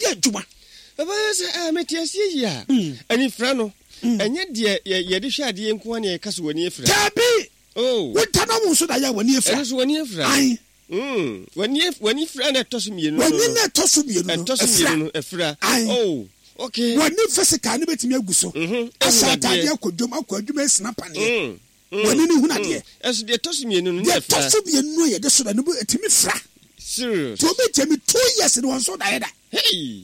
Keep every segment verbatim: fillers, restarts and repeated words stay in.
yɛ adwuma. Papa, sɛ ɛɛ mete aseɛ yi a, anifira no, ɛnyɛ deɛ yɛde hwɛ adeɛ nko ara na yɛka so w'ani afira. Daabi. Oh. Woda na wo nso da yɛ a, w'ani afira. Ɛno so w'ani afira. Ae. Mm. W'ani w'ani fira na ɛtɔ so mmienu no. W'ani na ɛtɔ so mmienu no. Ɛtɔ so mmienu no afira. Ae. Oh. Okay. W'ani physical ne bɛtumi agu so. Mhm. Ahyɛ ataadeɛ, akɔ dwom, akɔ adwuma, asina paneɛ. Mm. Mm. W'ani ne hunu adeɛ. Ɛso deɛ ɛtɔ so mmienu no ne Deɛ afira. ɛtɔ so mmienu no a yɛde so da no ɛtumi fira. Serious. Nti obi gye me two years ne wɔn so da yɛ da. Hey.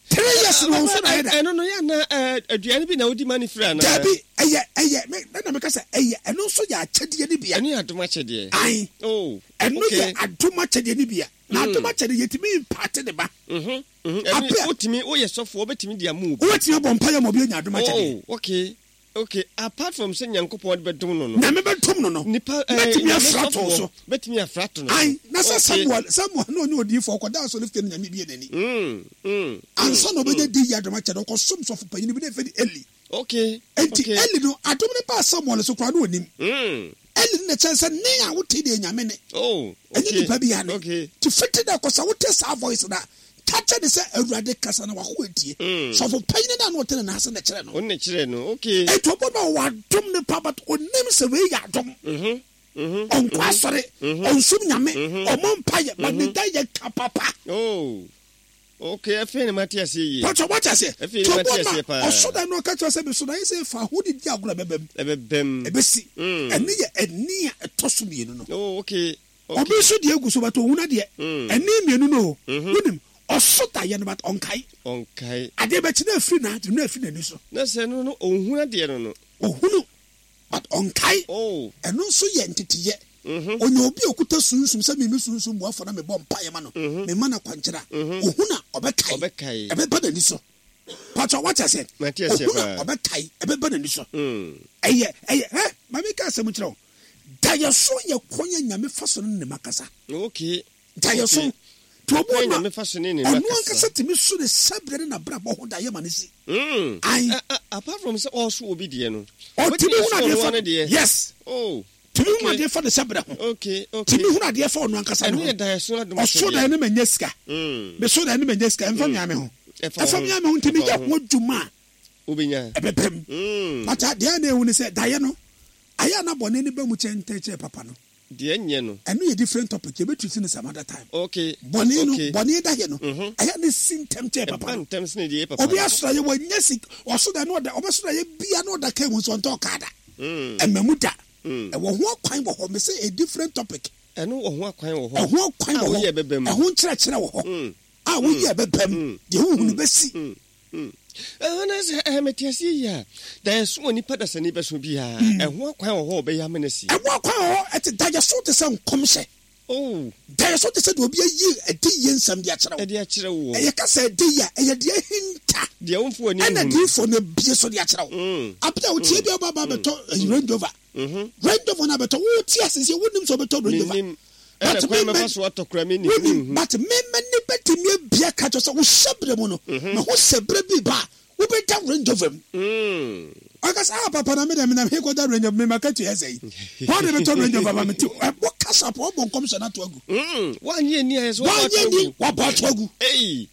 Three years ne wɔn so da yɛ da. Ɛno no yɛ ana aduane bi na wodi ma ne fira ana? Dabi, ɛyɛ ɛyɛ me ɛna meka sɛ ɛyɛ ɛno nso yɛ akyɛdeɛ ne bia. Ɛno yɛ adom akyɛdeɛ. Ae. Oh. Ɛno okay. yɛ adom akyɛdeɛ ne bia. Na adom akyɛdeɛ yɛtumi impart ne ba. Mhm. Mhm. Ɛno Apɛ- wotumi woyɛ sɔfoɔ, wobɛtumi de ama obi. Wobɛtumi abɔ mpa yɛ ma obi anya adom akyɛdeɛ. Oh, okay. Okay. Apart from sɛ Nyankopɔn de bɛdom no no. Nyame bɛdom no no. Nipa ɛɛ Bɛtumi Nyame afra to sɔfoɔ so. bɛtumi afra to no so. Ae, na sɛ Okay. Samuel Samuel na ɔnyɛ odiyifoɔ, ɔkɔda asɔre fie no, Nyame bie n'ani. Mm. Mm. Ansa na ɔbɛnya di yɛ adom akyɛdeɛ, ɔkɔsom sɔfo panyin bi na ɛfɛ de Eli. Okay. Enti Okay. Eli no, adom no baa Samuel so koraa na onim. Mm. Eli no na kyerɛ sɛ ne a wote deɛ Nyame ne. Oh. Ɛnyɛ Okay. nipa bi ne. Okay. Nti fiti dɛ kɔsa wote saa voice na ka kyerɛ ne sɛ Awurade kasa na wako etie. Mm. Sɔfo panyin no a na ɔte ne nan ase na kyerɛ no. Ɔno na kyerɛ no. Okay. Enti ɔbɔ no a ɔwɔ adom ne pa, but onim sɛ wei yɛ adom. Mhm. Mhm. Ɔnkɔ asɔre, ɔnsom Nyame, ɔmɔ mpayɛ, but ne da yɛ ka papa. Oh. Okay, afei na mate aseɛ yie. Pɔtɔ wate aseɛ. Afei Nti na mate ɔbɔ aseɛ no paa. a ɔso da no, ɔka kyerɛ sɛ meso da yɛ sɛ fa ahodidi agorɔ ɛbɛbɛm. Ɛbɛbɛm. Ɛbɛsi. Mm. Ɛne yɛ ɛni a ɛtɔ so mmienu no. Oh, okay. Okay. Obi nso deɛ egu so, but ohun adeɛ. Mm. Ɛni mmienu no o. Mhm. Wonim ɔso da yɛ no, but ɔnkae. Ɔnkae. Adeɛ bɛkyi na afiri n'adwene na afiri n'ani so. Na sɛ no no ɔnhunu adeɛ no no. Ohunu, but ɔnkae. Oh. Ɛno nso yɛ nteteyɛ. Mhm. Onya obi a okuta sunsum sɛ mimi sunsum buafo na mebɔ mpaeɛ ma no, mema no akwankyerɛ a, ohun a ɔbɛkae. Ɔbɛkae. Ɛbɛba n'ani so. Patro, wate aseɛ? Mate aseɛ Ohun a paa. ɔbɛkae, ɛbɛba n'ani so. Mm. Ɛyɛ ɛyɛ ɛ maame ka asɛm kyerɛ wo, dayɛso yɛ kwan yɛ Nyame fa so no ne ma kasa. Okay. Dayɛso Okay. nti obi Kwan wɔ Nyame fa so ne ne ma ɔno kasa. ankasa tumi so ne sɛbrɛ ne n'abrabɔ ho dayɛ ma ne si. Mm. Ae. A- a- apart from sɛ ɔso obi deɛ no. Ɔtumi Wobɛtumi hunu aso adeɛ ɔno fa ano deɛ. Yes. Oh. Tumi hunu Okay. adeɛ fa ne sɛbrɛ ho. Okay. Okay. Tumi hunu adeɛ fa ɔno ankasa ne Ɛno ho. yɛ daeɛso adom Ɔso akyɛdeɛ. daeɛ no manya sika. Mm. Meso daeɛ no manya sika, ɛmfa mea me ho. Ɛfa wo Ɛfa ho. mea me ho, nti Ɛfa meyɛ wo ho adwuma a, Wobɛnya. ɛbɛpɛm. Mm. But deɛ na ehu ne sɛ daeɛ no ayɛ a na bɔne ne ba mu kyɛn ntɛn kyɛn papa no. Deɛ nyɛ no. Ɛno yɛ different topic, yɛbɛtutu no some other time. Okay. Bɔne no, Okay. bɔne daeɛ no Mhm. ayɛ ne si ntɛm kyɛn papa Ɛba no. ntɛm sene deɛ ɛyɛ papa Obi no. asora yɛ wɔnyɛ si ɔso da no ɔda ɔbɛso da yɛ bia na ɔda kaa mu nso ɔntɔ kaa da. Mm. Ɛmɛ mu da. Mm. Ɛwɔ ho akwan wɔ hɔ, mɛ sɛ a different topic. Ɛno wɔ ho akwan wɔ hɔ. Ɛho akwan A wɔ woyɛ hɔ. ɛbɛbɛ mu. Ɛho nkyerɛkyerɛ wɔ hɔ Mm. a woyɛ ɛbɛbɛ mu Mm. deɛ wohu no bɛsi. Mm. Mm. Ɛhɔ na sɛ ɛɛ mete aseɛ yi a, daeɛso wɔ nipa dasani bɛso biara, ɛho akwan wɔ hɔ a ɔbɛyɛ ama no asi. Ɛho akwan wɔ hɔ. Ɛte daeɛso te sɛ nkɔmhyɛ. Oh. Daeɛso te sɛ deɛ obi ayi ɛdi yie nsɛm de akyerɛ wo. Ɛde akyerɛ wo. Ɛyɛ kasa ɛdi yie a, ɛyɛ deɛ ahinta. Deɛ womfo w'ani Ɛna nhunu. diifoɔ no abie so de akyerɛ wo. Mm. Abia wotie bi a ɔba ba bɛtɔ ɛyi Range Rover. Mhm. Range Rover no abɛtɔ, wote ase sɛ wonim sɛ ɔbɛtɔ Range Rover. Menim. Ɛna But kwan me- mɛfa so atɔ kora menim. Wonim, Menhu. but mema ni bɛtumi abia ka kyerɛ sɛ wohyɛ berɛ mu no, na ho sɛ berɛ bi ba a wobɛda Range Rover mu. Mm. Ɔka sɛ, ah, papa, na mede menam he kɔda Range Rover? Mema ka tua sɛ yi hɔ de bɛtɔ Range Rover ma mete ɛbɔ kasa pɔ, ɔbɔ nkɔmhyɛ no ato agu. Mm. Woanyɛ ni ayɛ sɛ wɔbɔ Woanyɛ ato ni agu. wabɔ ato agu. Ei.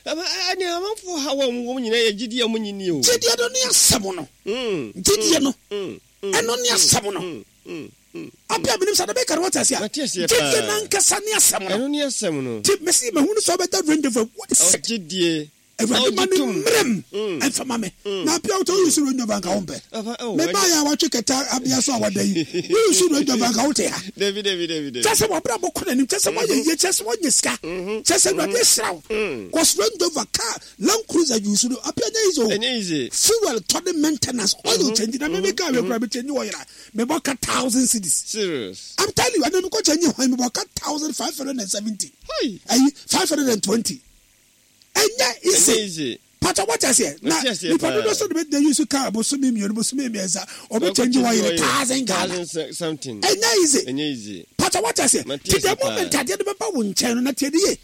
Ɛma ɛne amanfoɔ ha wɔn wɔn nyinaa yɛ gyidie a wɔn nyi ni o. Gyidie no ne asɛm no. Mm. Gyidie no, Mm. Mm. ɛno ne asɛm no. Mm. Mm. Mm. Abia menim sɛ adebɛka no, wote aseɛ a Mate aseɛ gyidie paa. nankasa ne asɛm no. Ɛno ne asɛm no. Nti mesi mahunu sɛ wobɛda Range Rover, what is it? Ɔgyidie. Awurade ma Ɔgye ne tom. mmerɛm Mm. ɛmfa ma me na abia wotɔ woyi so Range Rover nka wompɛ. Papa, oh, Mebaeɛ a watwe kɛtɛ abia so a wada yi, woyi so Range Rover nka wote ha. Dabi, dabi, dabi, dabi. Kyɛ sɛ wɔbrɛ bɔkɔ n'anim, kyɛ sɛ woayɛ yie, kyɛ sɛ woanya sika, kyɛ sɛ Awurade ahyira wo, cause Range Rover car, Land Cruiser use no, abia nyɛ easy o. Ɛnyɛ easy. Fuel tɔ ne maintenance, oil change na meme car wei kora me change oil a, mebɔ ka thousand cedis. Serious. I'm telling you, ɛna mekɔ change hwan, mebɔ ka thousand five hundred and seventy Hi. Ayi five hundred and twenty, ɛnyɛ Ɛnyɛ easy. easy. Pata wate aseɛ na Mate aseɛ nipa paa. dodo so de bɛ use car bosome mmienu, bosome mmiɛnsa, ɔbɛ change oil thousand Ghana. Thousand se- something. Ɛnyɛ easy. Ɛnyɛ easy. Pata wate aseɛ? Mate ti the aseɛ paa. moment adeɛ no bɛba wo nkyɛn no na tie de ye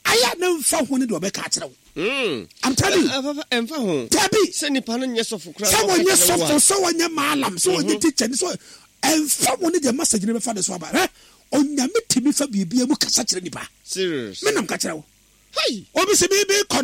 ayɛ ne nfa ho ne deɛ ɔbɛka akyerɛ wo. Mm. I'm telling you. Ɛ- ɛ, papa, ɛmfa ho. Dabi. Sɛ nipa no nyɛ sɔfo koraa Sɛ na ɔka wɔnyɛ kyerɛ wo a, sɔfo, sɛ wɔnyɛ maalam, sɛ wɔnyɛ teacher ni, sɛ ɛmfa wo ne deɛ message no bɛfa de so aba ɛ Onyame tumi fa biribia mu kasa kyerɛ nipa. Serious. Menam ka kyerɛ wo. Hi. Obi sɛ biribi kɔ no.